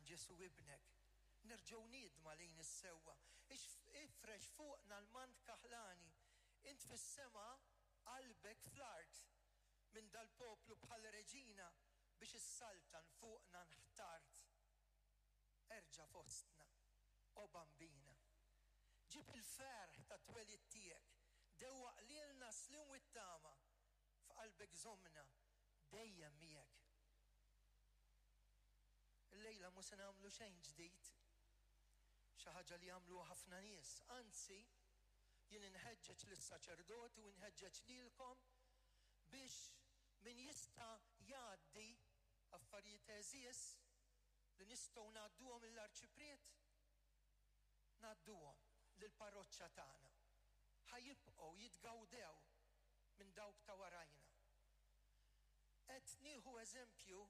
Agħtina Ġesù ibnek, nerġgħu niedma lejn is-sewwa. Ifrex fuqna l-mant kaħlani, int fis-sema qalbek fl-art. Minn dal-poplu bħal reġina biex issaltan fuqna nħtart. Erġa' fostna, o Bambina. Ġib il-ferħ tat-twelid tiegħek, dewwaq lilna s-sliem u t-tama, f'qalbek żommna dejjem miegħek. Illejla mhu se nagħmlu xejn ġdid, xi ħaġa li jagħmluha ħafna nies, anzi jien inħeġġeġ lis-saċerdoti u nħeġġeġ lilkom biex min jista' jgħaddi affarijiet għeżież li nistgħu ngħadduhom lill-Arċipriet, ngħadduhom lill-parroċċa tagħna. Ħa jibqgħu jitgawdew minn dawk ta' warajna. Qed nieħu eżempju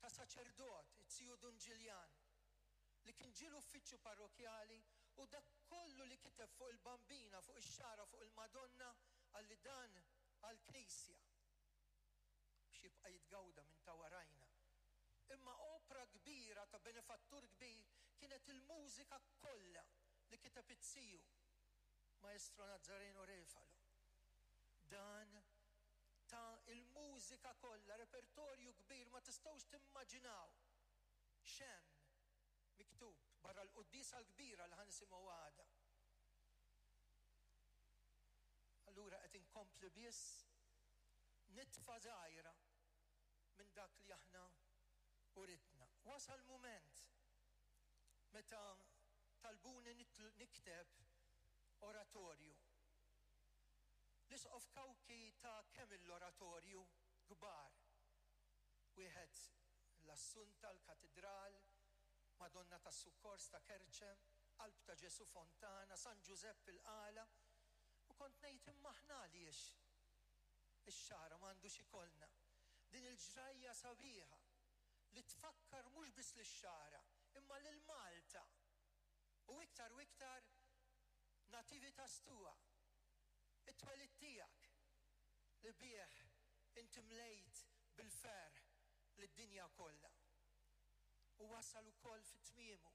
ta' saċerdot, it-Ziju Dun Ġiljan, li kien ġie l-uffiċċju parrokkjali u dak kollu li kiteb fuq il-Bambina, fuq ix-xagħra, fuq il-Madonna, qalli dan għall-Knisja biex jibqa' jitgawda minn ta' warajna. Imma opra kbira ta' benefattur kbir kienet il-mużika kollha li kiteb it-ziju, Maestro Nazzareno Refalo. Dan ta l-mużika kollha, repertorju kbir ma tistgħux timmaġinaw x'hemm miktub barra l-quddiesa l-kbira li ħa nisimgħu għada. Allura qed inkompli biss nitfa' żgħira minn dak li aħna uritna. Wasal mument meta talbuni nikteb oratorju. L-Isqof Cauchi ta kemm il-oratorju kbar. Wieħed l-Assunta, l-Katidral, Madonna tas-Sukkors ta' Kerċem, Qalb ta' Ġesù Fontana, San Ġużepp il-Qala, u kont ngħid imma aħna għaliex ix-Xagħra m'għandux ikollna din il-ġrajja sabiħa li tfakkar mhux biss lix-Xagħra imma lil Malta u iktar u iktar Nativitas Tua, it-twelid tiegħek li bih inti mlejt bil-ferħ lid-dinja kollha. U wasal ukoll fi tmiemu.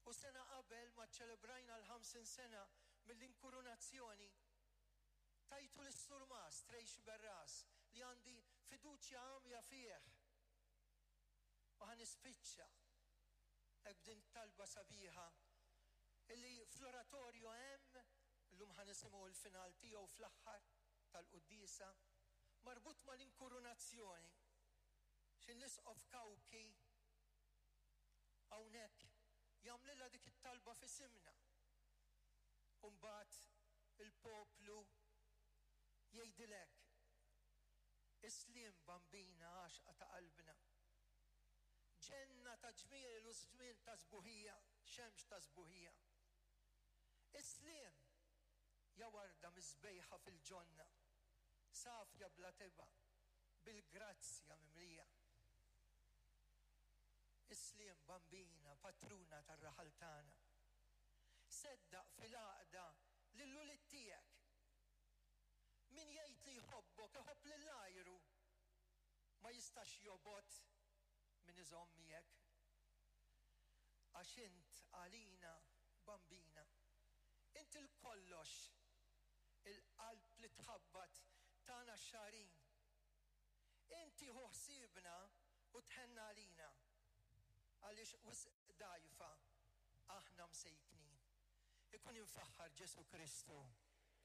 U sena qabel ma ċċelebrajna l-50 sena mill-inkurunazzjoni, tajtu lis-Surmast Ray Sciberras li għandi fiduċja għamja fih. U ħa nispiċċa hekk b'din it-talba sabiħa illi fl-oratorju hemm, illum ħa nisimgħu l-final tiegħu fl-aħħar tal-quddiesa, marbut mal-inkurunazzjoni, x'in l-Isqof Cauchi hawnhekk jagħmlilha dik it-talba f'isimna. U mbagħad il-poplu jgħidilek, Is-sliem Bambina għaxqa ta' qalbna. Ġenna ta' ġmiel u żmien ta' sbuħija, xemx ta' sbuħija. Is-sliem, ja warda misbejħa fil-ġonna, safja bla tebgħa, bil-grazzja mimlija. Is-sliem Bambina, patruna tar-raħal tagħna. Seddaq fil-għaqda lil ulied tiegħek. Min jgħid li jħobbok iħobb lil għajru. Ma jistax jobgħod min iżomm miegħek. Għax int għalina Bambina. Int il-kollox, il-qalb li tħabbat tagħna x-xagħrin. Int tieħu ħsiebna u tħenn għalina, għaliex wisq dgħajfa aħna msejknin. Ikun imfaħħar Ġesù Kristu.